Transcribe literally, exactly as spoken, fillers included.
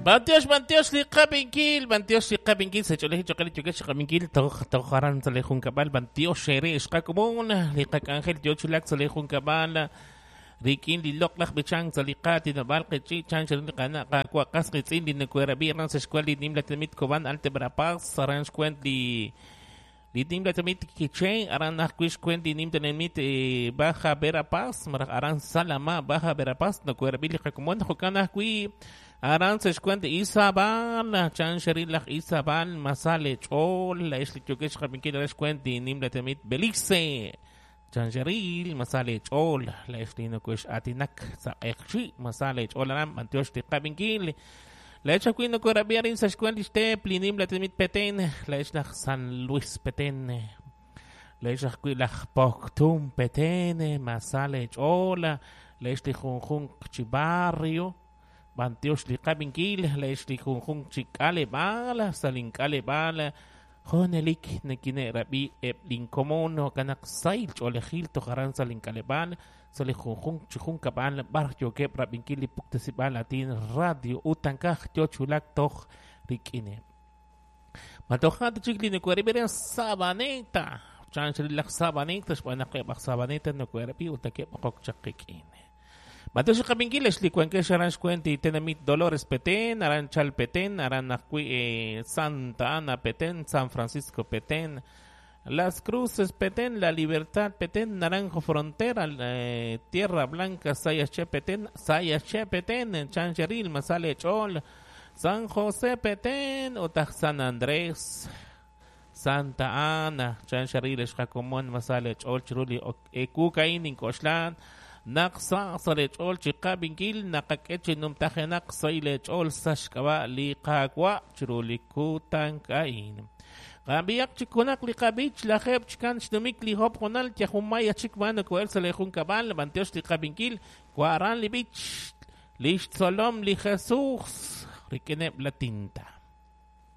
Bantiox, bantiox, li qabinkil, bantiox, li qabinkil, sa ch'oolej choqel yokex qabinkil, toj toj aran sa li junkab'al, bantiox ere xqakomon, li qak'anjel yo chulak sa li junkab'al, rik'in li loq'laj b'ichank sa li qaatinob'aal qechi' chan xeril li qana' qawa' qas qitz'in li nakuerab'i aran sa xkuel li nimla tinamit Cobán, Alta Verapaz, aran xkuent li li nimla tinamit Quiché, aran ajwi' xkuent li nim tinamit eh, Baja Verapaz, maraj aran Salama, Baja Verapaz, nakuerab'i li qakomon, jo'kan ajwi' aran sa xkuent Izabal, chan xeril laj Izabal, masale ch'ool, la ix li yokex qabinkil aran xkuent li nimla tinamit Belice. Chanxeril, masale ch'ool, la ix li nakuex atinak sa q'eqchi, masale ch'ool aran, bantiox li qabinkil. La ix ajwi' nakuerab'i arin sa xkuent li xteep li nimla tinamit Petén, la ix laj San Luis Petén, la ix ajwi' laj Poctum Petén, masale ch'ool, la ix li junjunq chi barrio, bantiox li qabinkil, la ix li junjunq chi k'aleb'aal, sa link'aleb'aal, Jonelik nakine'rab'i eb' linkomon jo'kan sayl ch'oolejil toj aran sa link'aleb'aal sa li junjunq chi junkab'al b'ar yookeb' rab'inkil li puktasib'aal atin radio utankaj yo chulak toj rik'ineb'. Matoja' chik li nakuerab'i re Sabaneta, chan xeril laj Sabaneta xb'aan naq eb' aj Sabaneta nakuerab'i ut nakeb' oqok chaq qik'in. Bantiox qabinkil ex li wankex aran xkuent li tenamit Dolores Petén, aran Chal Petén, aran ajwi' eh, Santa Ana Petén, San Francisco Petén, Las Cruces Petén, La Libertad Petén, Naranjo Frontera, eh, Tierra Blanca, Sayaxché Petén, Sayaxché Petén, Chancheril, Masale Chol, San José Petén, Otaj San Andrés, Santa Ana, Chancheril, Xjacomón, Masale Chol, Chiruli, Ekukain, Incoxlán, naq sa sa le ch'ool chi qabinkil naqak'e chi numtajenaq sa le ch'ool sa xk'ab'a' li qawa' chiru li kutank'a'in. Qab'iyaq chik junaq li qab'ich lajeb' chikan xnumik li hop junal yajumaya chik ma naku'el sa le junkab'al bantiox li qabinkil wa'aran li b'ich li xtzolom li Jesús rik'ineb' la tinta.